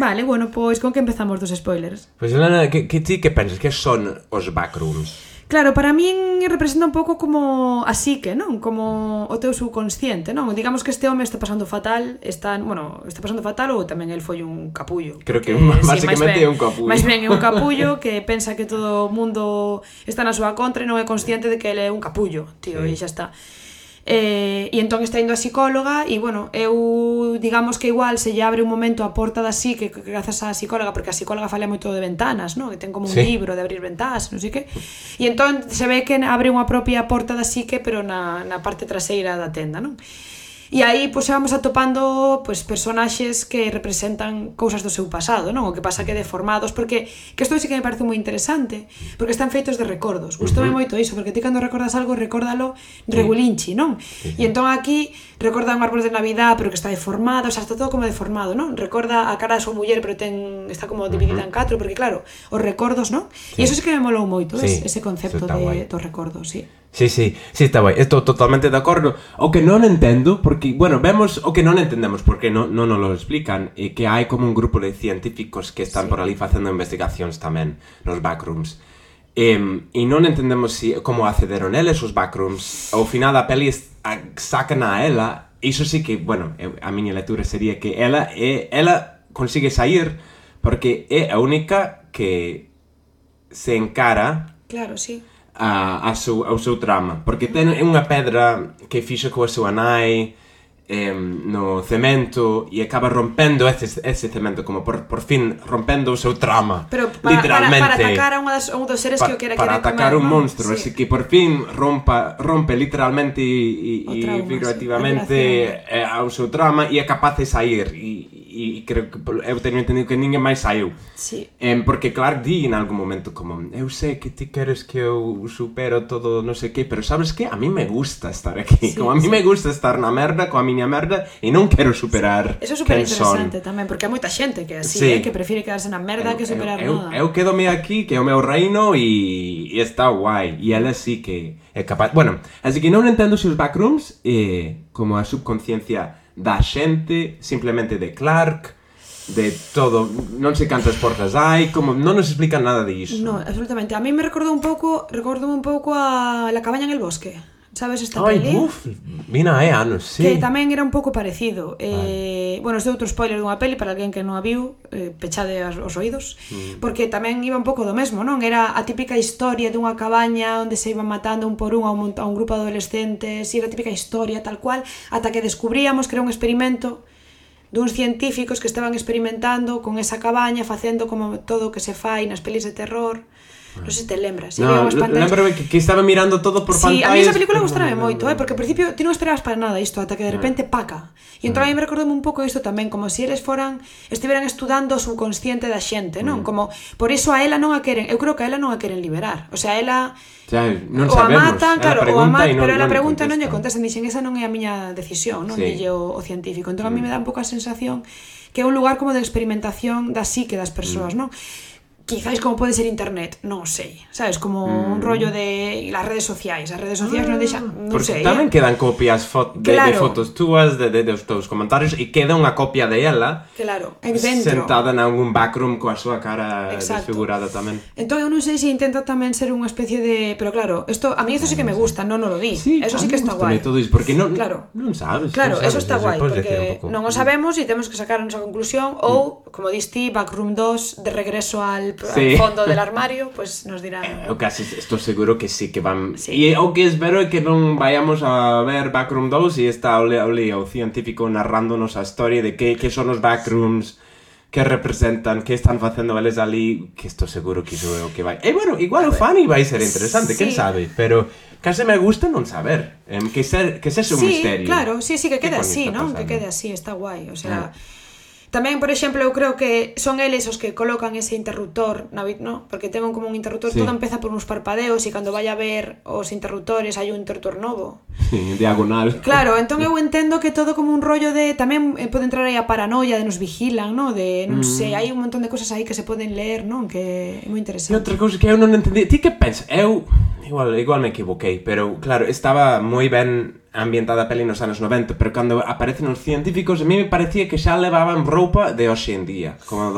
Vale, bueno, pois con que empezamos dos spoilers? Pois, Elena, que ti que pensas? Que son os backrooms? Claro, para min representa un pouco como a psique, non? Como o teu subconsciente, non? Digamos que este home está pasando fatal, está pasando fatal ou tamén el foi un capullo. Creo que basicamente é un capullo. Mais ben é un capullo que pensa que todo o mundo está na súa contra e non é consciente de que ele é un capullo, tío, e xa está. E entón está indo a psicóloga e, bueno, eu digamos que igual se lle abre un momento a porta da psique grazas á psicóloga, porque a psicóloga fala moito de ventanas, non? Que ten como un libro de abrir ventanas, non sei que. E entón se ve que abre unha propia porta da psique, pero na parte traseira da tenda, non? E aí, pois, vamos atopando, pois, personaxes que representan cousas do seu pasado, non? O que pasa que deformados, porque que isto sí que me parece moi interesante, porque están feitos de recordos. Gustoume moito iso, porque ti cando recordas algo, recórdalo regulinchi, non? E entón aquí recorda un árbol de Navidad, pero que está deformado, o sea, está todo como deformado, non? Recorda a cara da súa muller, pero está como dividida en 4, porque claro, os recordos, non? E iso sí que me molou moito, ese concepto dos recordos, sí. Sí, está guai, estou totalmente de acordo. O que non entendo, porque, bueno, vemos o que non entendemos, porque non nos lo explican, e que hai como un grupo de científicos que están por ali facendo investigacións tamén nos backrooms. E non entendemos como accederon eles os backrooms. Ao final da peli sacan a ela, iso sí que, bueno, a miña lectura sería que ela consigue sair porque é a única que se encara. Claro, sí. Ao seu trama, porque ten unha pedra que fixo coa súa nai no cemento e acaba rompendo ese cemento, como por fin rompendo o seu trama. Pero literalmente para atacar a un dos seres que o quere para atacar un monstro, así que por fin rompe literalmente e figurativamente ao seu trama e é capaz de sair e creo que eu teño entendido que ninguén máis saiu. Sí. Porque claro, di en algún momento como eu sei que ti queres que eu supero todo non sei que, pero sabes que a mí me gusta estar aquí, como a mí me gusta estar na merda coa miña merda e non quero superar. Eso é super interesante tamén, porque hai moita xente que é así, que prefire quedarse na merda que superar nada. Eu quedome aquí, que é o meu reino e está guai, e ela sí que é capaz. Bueno, así que non entendo se os backrooms como a subconsciencia da xente, simplemente de Clark, de todo, non sei cantas portas hai, como non nos explican nada de iso. No, absolutamente. A mí me recordou un pouco a La cabaña en el bosque. Sabes esta peli? Vina hai anos, sí. Que tamén era un pouco parecido. Bueno, este é outro spoiler dunha peli para alguén que non a viu, pechade os oídos, porque tamén iba un pouco do mesmo, non? Era a típica historia dunha cabaña onde se iban matando un por un a un grupo de adolescentes, e era a típica historia tal cual, ata que descubríamos que era un experimento duns científicos que estaban experimentando con esa cabaña, facendo como todo o que se fai nas pelis de terror. Non sei se te lembras. Lembro que estaba mirando todo por pantallas. Sí, a mí esa película gustaba moito, porque ao principio ti non esperabas para nada isto, ata que de repente paca. E entón a mí me recordou un pouco isto tamén, como se eles estiveran estudando o subconsciente da xente, non? Como, por iso a ela non a queren, eu creo que a ela non a queren liberar. O sea, ela non sabemos, claro, pero ela pregunta non lle contestan, dixen, esa non é a miña decisión, non dille o científico. Entón a mí me dá un pouco a sensación que é un lugar como de experimentación da psique das persoas, non? Quizáis como pode ser internet, non sei, sabes, como un rollo de las redes sociais non deixan, non sei. Porque tamén quedan copias de fotos túas, de os teus comentarios, e queda unha copia de ela sentada en algún backroom coa súa cara desfigurada tamén. Entón eu non sei se intenta tamén ser unha especie de... Pero claro, a mí isto sí que me gusta, non lo di, eso sí que está guai. Porque non sabes. Claro, eso está guai, porque non o sabemos e temos que sacar a nosa conclusión, ou, como dis ti, Backroom 2 de regreso al fondo del armario, pues nos dirán. Eu casi estou seguro que sí que van. E o que espero é que non vayamos a ver Backroom 2 e está o científico narrándonos a historia de que son os backrooms, que representan, que están facendo eles ali, que estou seguro que iso é o que vai. E bueno, igual o fan vai ser interesante, quen sabe, pero case me gusta non saber, que sexe un misterio. Sí, claro, sí, que quede así, non? Que quede así, está guai, o sea... Tamén, por exemplo, eu creo que son eles os que colocan ese interruptor, ¿no? Porque ten como un interruptor, todo empeza por uns parpadeos e cando vai a ver os interruptores hai un interruptor novo. Sí, diagonal. Claro, entón eu entendo que todo como un rollo de... Tamén pode entrar aí a paranoia de nos vigilan, ¿no? De, non sei, hai un montón de cosas aí que se poden ler, non? Que é moi interesante. E outra cousa que eu non entendi... Ti que pensas? Eu... Igual me equivoquei, pero claro, estaba moi ben ambientada a peli nos anos 90, pero cando aparecen os científicos a mí me parecía que xa levaban roupa de hoxe en día, como